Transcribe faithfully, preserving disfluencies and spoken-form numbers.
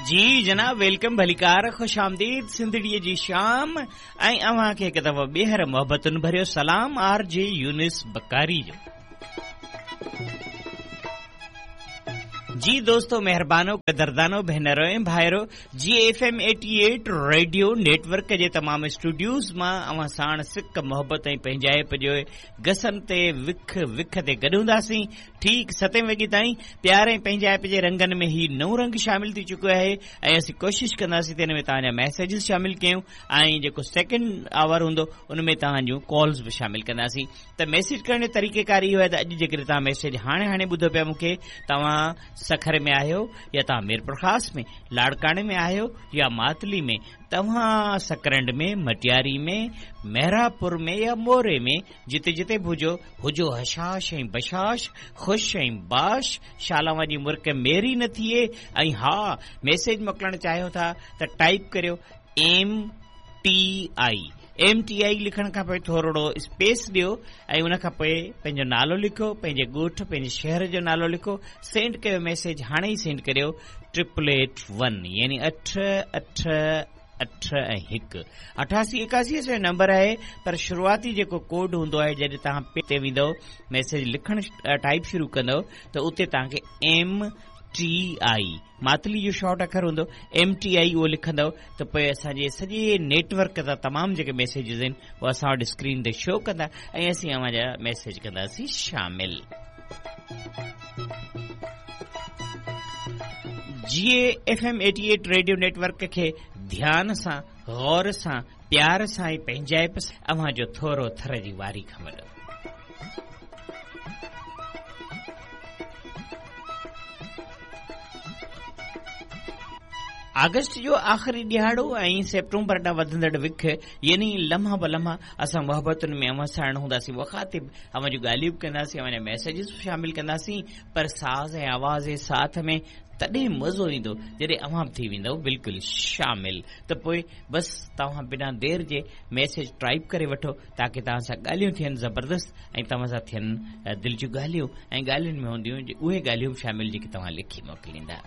जी जनाब, welcome, भलीकार, खुश आमदीद। सिंधड़ीअ जी शाम ऐं अव्हां खे हिकु दफ़ो ॿीहर मोहबतुनि भरियो सलाम आर जे यूनिस बकारी जो। जी दोस्तों, मेहरबानो, कदरदानो, भेनरो ऐं भाइरो, जी F M eighty eight radio network जे तमाम स्टूडियोज मां अव्हां साण सिक, मोहबत ऐं पंहिंजाइप जो गसन ते विख विख ते गॾु हूंदासीं ठीक सतें वॻे ताईं। प्यार ऐं पंहिंजाइप जे रंगनि में ही नओं रंग शामिल थी चुको आहे ऐं असीं कोशिशि कंदासीं त हिन में तव्हांजा मैसेजिस शामिल कयूं ऐं जेको सेकंड our हूंदो उन में तव्हांजूं कॉल्स बि शामिल कंदासीं। त मैसेज करण जो तरीक़ेकार इहो आहे त अॼु जेकॾहिं तव्हां मैसेज हाणे हाणे ॿुधो पिया मूंखे, तव्हां सखर में आहियो या तव्हां मीरपुर ख़ास में, लाड़काणे में आहियो या मातली में, तव्हां सकरंड में, मटियारी में, मेहरापुर में या मोरे में, जिते जिते बि हुजो हुजो हशाश ऐं बशाश, ख़ुशि ऐं बाश, शाला जी मुर्क मेरी न थिए। ऐं हा, मैसेज मोकिलणु चाहियो था त टाइप करियो M T I. M T I लिखण खां पोइ थोरो स्पेस ॾियो ऐं उन खां पोइ पंहिंजो नालो लिखो, पंहिंजे ॻोठ, पंहिंजे शहर जो नालो लिखो, सेंड कयो मैसेज, हाणे ई सेंड करियो ट्रिपल एट वन, यानी अठ अठ अठ ऐं हिकु अठासी एकासी असांजो नंबर आहे। पर शुरूआती जेको कोड हूंदो आहे, जॾहिं तव्हां पे ते वेंदव, मैसेज लिखणु टाइप शुरू कंदव त उते तव्हांखे एम टी I, Matli जो शॉर्ट अखर हूंदो एम टी I, उहो लिखंदव त पोइ असांजे सॼे नेटवर्क तां तमामु जेके मैसेजिस आहिनि उहे असां वटि स्क्रीन ते शो कंदा ऐं असीं अव्हां जा मैसेज कंदासीं शामिल। जी F M eighty eight radio network खे ध्यान सां, गौर सां, प्यार सां ऐं पंहिंजाइप सां अव्हां जो थोरो थर जी वारी खां वॾो। आगस्ट जो आख़िरी ॾिहाड़ो ऐं सेप्टेम्बर ॾांहुं वधंदड़ विख, यानी लम्हा ब लम्हा असां मोहबतुनि में अव्हां साण हूंदासीं, मुखातिब, अव्हां जूं ॻाल्हियूं बि कंदासीं, अव्हां जा मैसेजिस बि शामिल कंदासीं, पर साज़ ऐं आवाज़ जे साथ में तॾहिं मज़ो ईंदो जॾहिं अव्हां बि थी वेंदव बिल्कुलु शामिल। त पोइ बसि तव्हां बिना देरि जे मैसेज टाइप करे वठो ताकी तव्हां सां ॻाल्हियूं थियनि ज़बरदस्त ऐं तव्हां सां थियनि दिलि जूं ॻाल्हियूं ऐं ॻाल्हियुनि में हूंदियूं उहे ॻाल्हियूं बि शामिल जेके तव्हां लिखी मोकिलींदा।